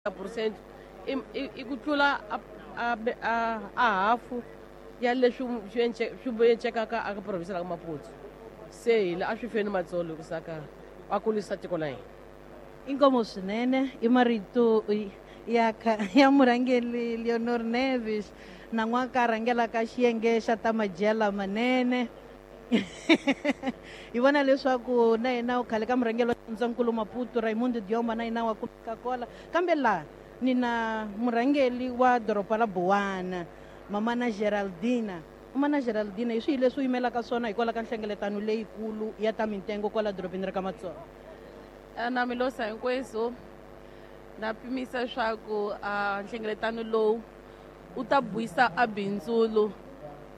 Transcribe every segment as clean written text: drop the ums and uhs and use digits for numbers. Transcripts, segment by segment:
Percent i ku tlula a hafu ya leswi swi encekaka aka province la ka Maputo. Se hi la a swi feni matsolo ku saka a kulisa tiko la hina. Inkomo swinene i marito ya ya murhangeri Leonor Neves na n'waka rhangelaka xiyenge xa ta madyela manene. Hi vona leswaku na yena khale ka murhangeri wa xifundzankulu Maputo Raimundo Dioma na yena wa kumeka kola, kambe laha ni na murhangeri wa doroba ra Buwana, Mamana Geraldina. Mamana Geraldina, hi swihi leswi u yimelaka swona hikwalaho ka nhlengeletano leyikulu ya ta mintengo kwala dorobeni ra ka Matsolo? Na milosa hinkwenu, na pimisa leswaku nhlengeletano lowu wu ta buyisa a bindzulu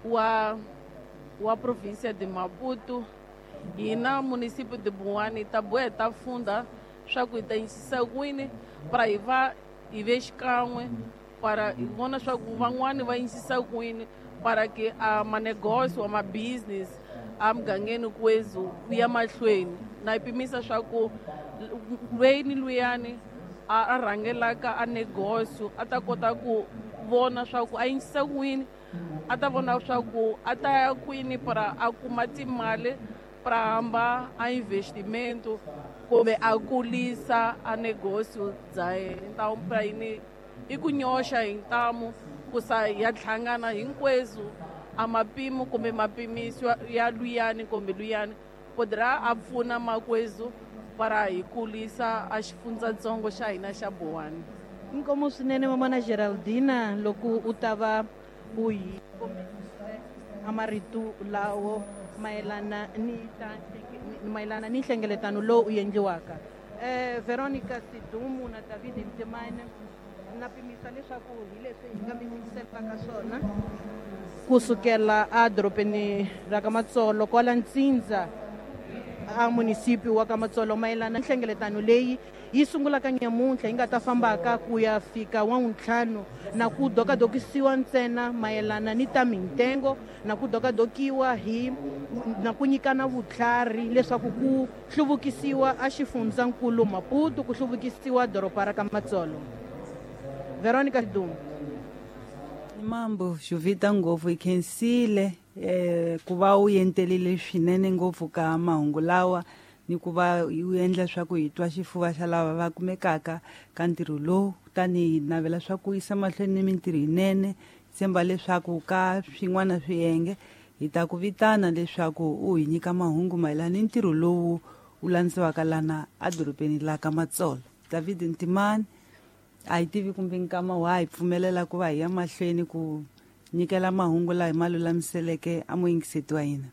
wa province de Maputo. Hina municipio de Buwana hi ta boha hi ta funda swa ku hi ta yisisa kwini para hi va hi ve xikan'we, para hi vona swa ku van'wani va yisisa kwini para ke a manegosio wa ma-business a mugangeni kwezu wu ya mahlweni. Na yi pimisa swa ku lweni luyani a rhangelaka a negosio a ta kota ku vona swa ku a yisisa kwini, a ta vona swa ku a ta ya kwini para a kuma timali para hamba a investimento kumbe a kulisa a negosio bya yena. Então para yini i ku nyoxa hi ntamu ku sa ya hlangana hinkwenu a mapimo kumbe mapimiso ya luyani kumbe luyani podra a pfuna makwezu para hi kulisa a xifundzatsongo xa hina xa Buwana. Inkomo swinene Mamana Geraldina, loko u ta va u hi kombise a marito lawo mayelana ni ta mayelana ni nhlengeletano lowu u endliwaka. Veronica Sidumu na David Ntimane, na pimisa leswaku hi leswi hi nga mi yingiselaka swona kusukela a dorobeni ra ka Matsolo kwala Ntsindza a municipio wa ka Matsolo mayelana nhlengeletano leyi yi sungulaka nyamuntlha yi nga ta fambaka ku ya fika wa ntlhanu, na ku dokadokisiwa ntsena mayelana ni ta mintengo, na ku dokadokiwa hi na ku nyikana vutlhari leswaku ku hluvukisiwa a xifundzankulu Maputo, ku hluvukisiwa doroba ra ka Matsolo. Veronica Sidumu. Mambo Juvita ngopfu hi khensile ku va u yentelile swinene ngopfu ka mahungu lawa ni ku va u endla swa ku hi twa xifuva xa lava va kumekaka ka ntirho lowu. Kutani hi navela swa ku yisa mahlweni ni mintirho yinene, tshemba leswaku ka swin'wana swiyenge hi ta ku vitana leswaku u hi nyika mahungu mayelana ni ntirho lowu wu landziwaka lana edorobeni la ka Matsolo. David Ntimane, a hi tivi kumbe nkama wa hi pfumelela ku va hi ya mahlweni ku nyikela mahungu laha hi ma lulamiseleke a muyingiseti wa hina.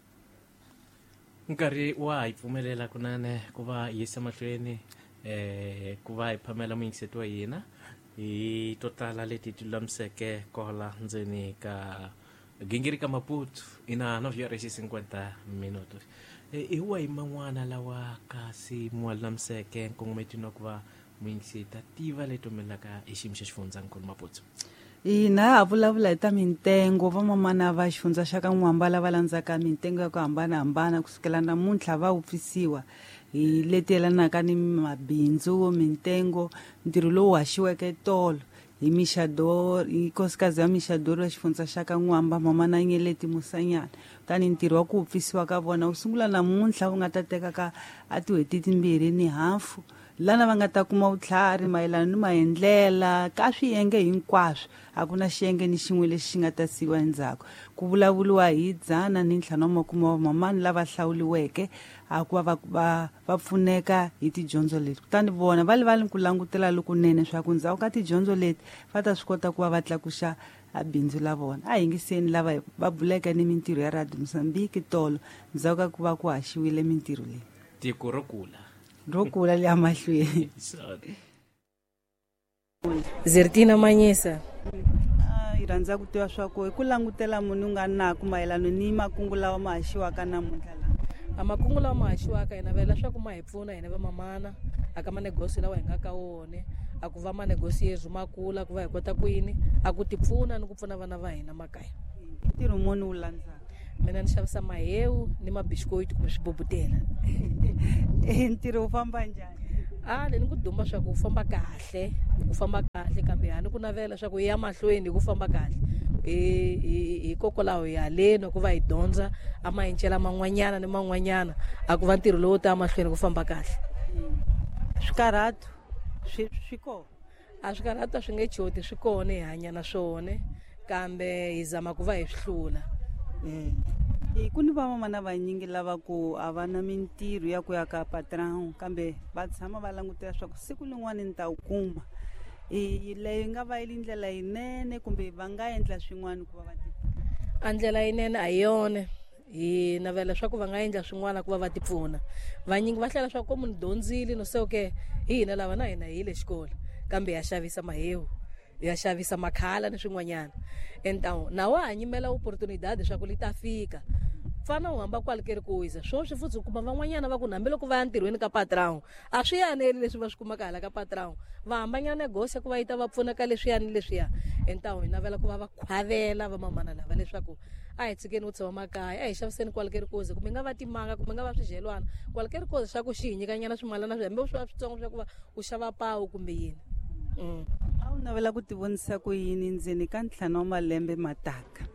Nkarhi wa hi pfumelela kunene ku va hi yisa mahlweni ku va hi phamela muyingiseti wa hina hi to tala leti ti lulamiseke kola ndzeni ka gingiri ka Maputo ina 9:50 minutos. Hi wahi man'wana lawa kasi mu lulamiseke nkongometini wa ku va muyingiseti a tiva leti humelelaka hi xiyimo xa xifundzankulu Maputo? Hina ha vulavula hi ta mintengo. Vamamana va xifundza xa ka N'wamba lava landzaka mintengo ya ku hambanahambana kusukela namuntlha va wupfisiwa hi leti yelanaka ni mabindzu, mintengo, ntirho lowu haxiweke tolo hi Mixador, hi nkosikazi ya Mixador wa xifundza xa ka N'wamba, Mamana Nyeleti Musanyana. Kutani ntirho wa ku wupfisiwa ka vona wu sungula namuntlha wu nga ta teka ka a tin'hweti timbirhi ni hafu, lana va nga ta kuma vutlhari mayelana ni maendlela ka swiyenge hinkwaswo. A ku na xiyenge ni xin'we lexi xi nga ta siyiwa endzhaku. Ku vulavuriwa hi 150 wa vamamani lava hlawuriweke a ku va va pfuneka hi tidyondzo leti. Kutani vona va le ku langutela lokunene swa ku ndzhaku ka tidyondzo leti va ta swi kota ku va va tlakuxa a bindzu la vona. A yingiseni lava va buleke ni mintirho ya Radio Mozambique tolo ndzhaku ka ku va ku haxiwile mintirho leyi. Tiko ro kula. Ro kula le amahlweni. Zertina Manyisa. Hi rhandza ku tiva swa ku hi ku langutela munhu u nga naku mayelana ni makungu lawa ma haxiwaka namuntlha lawa. A makungu lawa ma haxiwaka hi navela leswaku ma hi pfuna hina vamamana aka manegosi lawa hi nga ka wona, a ku va manegosi yezu ma kula ku va hi kota ku yini a ku ti pfuna ni ku pfuna vana va hina makaya. Ntirho muni wu landzaka? Mina ni xavisa mahewu ni mabisikoiti kumbe swibobutela. Ntirho wu famba njhani? A ni ku duma swa ku famba kahle, ku famba kahle, kambe a ni ku navela swa ku ya mahlweni ku famba kahle. Hikokwalaho hi haleni ku va hi dyondza a mayincela man'wanyana ni man'wanyana, a ku va ntirho lowu ta mahlweni ku famba kahle. Swikarhato swi kona? A swikarhato a swi nge choti, swi kona, hi hanya na swona, kambe hi zama ku va hi swi hlula. Ku ni vamamana vanyingi lava ku a va na mintirho ya ku ya ka patron, kambe va tshama va langutela swa ku siku lin'wani ni ta wu kuma. Leyo yi nga va yi ri ndlela yinene, kumbe va nga endla swin'wana ku va va ti A ndlela yinene a hi yona. Hi navela leswaku va nga endla swin'wana ku va va tipfuna. Vanyingi va hlela swa ku munhu dyondzile no se okay, hi hina lava na hina hi yile xikolo, kambe ya xavisa mahewu, ya xavisa makhala ni swin'wanyana. Entawu na wa ha nyimela opportunidade swa ku li ta fika, fana u hamba kwale ke ri ku wisa swoswi futhi u kuma van'wanyana va ku hambiloko va ya ntirhweni ka patron a swi yaneli leswi va swi kumaka hala ka patron, va hambanyana negosia ku va yi ta va pfuna ka leswiya ni leswiya. Entawu hi navela ku va va khwavela vamamana lava leswaku a hi tshikeni ku tshama makaya, a hi xaviseni kwale ke ri kozi, kumbe nga va timanga, kumbe nga va swidyelwana kwale ke ri kozi, swa ku xi hi nyikanyana swimalana swi hambi swi va switsongo swa ku va u xava pawu kumbe yini. A wu navela ku tivonisa ku yini ndzeni ka 5 wa malembe mataka?